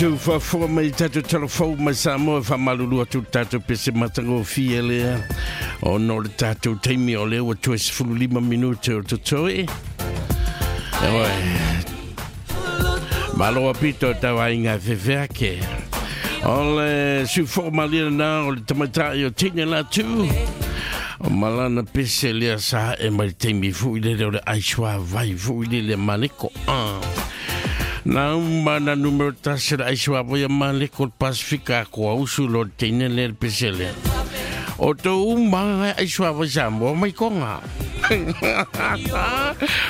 Tou faafofoga mai i tatou talafou mai Samoa e faamalulu atu le tatou pese matagofie lea ona o le tatou taimi o lea ua toe 15 minute o totoe. Oe, malo a pito tau aiga e fefeake. O le sufo malia na o le tamaitai o Tina Latu. O malana pese lea sa e mai le taimi fui lele o le aisua vai fui lele maleko. Ah. Na uma na numero tasi le aisua vai maleko le Pasifika ko ausu lo le teine le le pese lea. O tō uma aisua vai Samoa mai konga.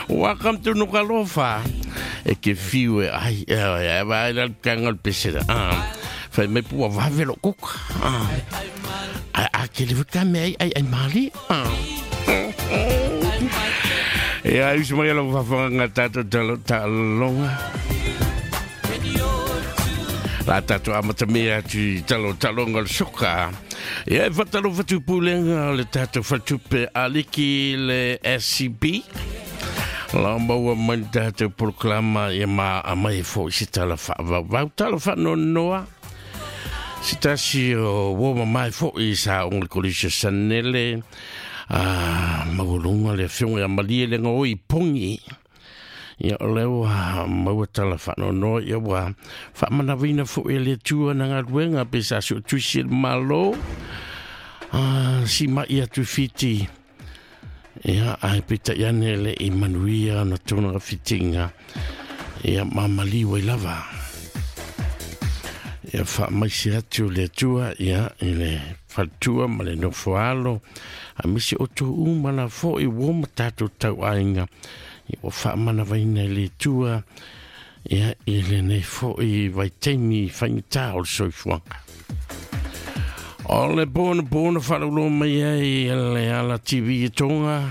Welcome to Nukalofa. E ke fiu e ai, e ai, e vai la kanga le pese lea. Ah. Fai mai pua vave lo kuka. Ah. Ai, a ke le waka me ai, ai, ai mali. Ah. E ai usu mai alo whawhanga tātou talo talonga. La tātou amata mea atu i talo talonga le soka. E ai whatalo whatu pūlenga o le tātou whatupe aliki le SCB. La maua mai le tātou proklama ia ma a mai fo i se tala whaavau. Tala whanonoa. Se tasi o woma mai fo i sa ongle kolisa sanele. A maualunga le afioga ia malie le gaoi pogi ia o lea ua maua tala faanoanoa ia ua faamanaviina foʻi e le Atua na galuega pe sa suʻatuisi e le Mālō a simaʻi atu Fiti ia ae peitai ane le i manuia ona tona fitiga ia mamaliu ai lava ia faamaise atu le Atua ia i le faletua ma le nofoalo a misi o tō uma la foʻi ua ma tātou tauaiga ia ua faamanavaina e le Atua ia i lenei foʻi vaitaimi faigata o le soifuaga. O le pona pona faalauloa mai ai le ala TV e tonga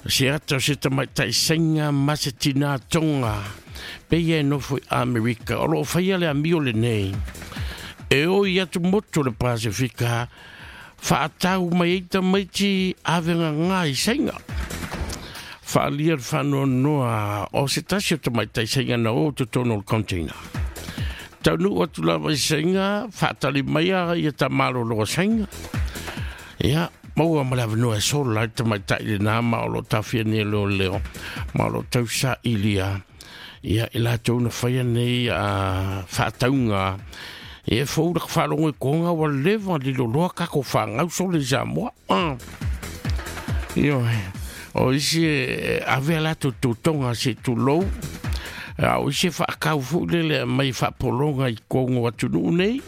se ata o se tamaitai sainga ma se tinā tonga peia e nofo i Amerika o loo faia le amio lenei e oi atu motu o le Pasifika faatau mai ai tamaiti avega ngā i sainga. Whaalia le whanoanoa o se tasi o tamaitai sainga na o totonu o le container. Taunu atu lava i sainga, whaatali mai a ia ta malolo sainga. Ia, maua ma le avanoa e sola ai tamaitai le nā ma o lo tawhia ni leo leo, ma o lo tausa ilia. Ia, i latou na whaia nei a whaataunga. E fou la whaalongo i konga wa leva lilo loa kako whangau sole i Samoa. Ah. Io, o isi e ave a latou tautoga se tulou, a o isi e faakau foi lele mai faapologa i kogo atunuu nei.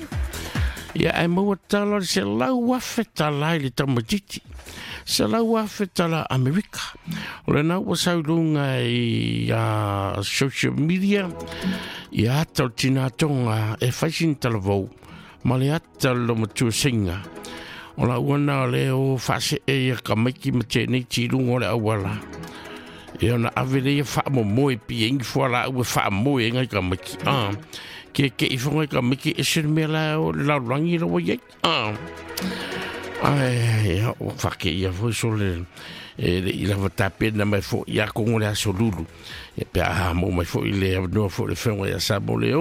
Ia ae maua tala le 100,000 tala i le tamaititi. 100,000 tala Amerika. O lena ua sau i luga i social media, ia ata o le tinā tonga e fai sina talavou ma le ata o le lomatua seiga. O la ua na o le o faasee ia kamaiki ma tēnei ti lunga o le auala. E ona ave le ia whaamomoe pi e ingi fua la ua whaamoe e ngai kamaiki. Ah, ke ke i whangai kamaiki e se mea la o le laurangi la wai ai. Ah. Ai, ia, o whake ia foi so le, e le i lava tapena mai fo ia kongo le aso lulu. Ia pe aha mo mai fo i le noa fo le whenga ia sa mo le o.